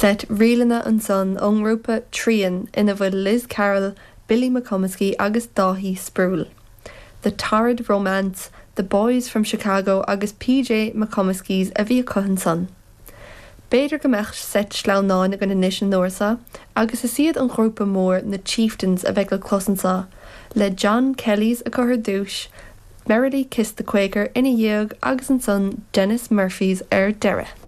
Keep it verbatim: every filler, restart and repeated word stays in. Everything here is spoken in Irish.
Seit ríleanna ansan ón ngrúpa Trian ina bhfuil Liz Carroll, Billy McComiskey agus Dáithí Sproule. The Torrid Romance, The Boys from Chicago agus PJ McComiskey's a bhí acu ansan. B'fhéidir go mbeadh seit sleamhnáin againn anois an uair seo, agus is iad an grúpa mór na Chieftains a bheidh le clos anseo, le John Kelly's acu ar dtús, Merrily Kiss the Quaker ina dhiaidh agus ansan Denis Murphy's ar deireadh.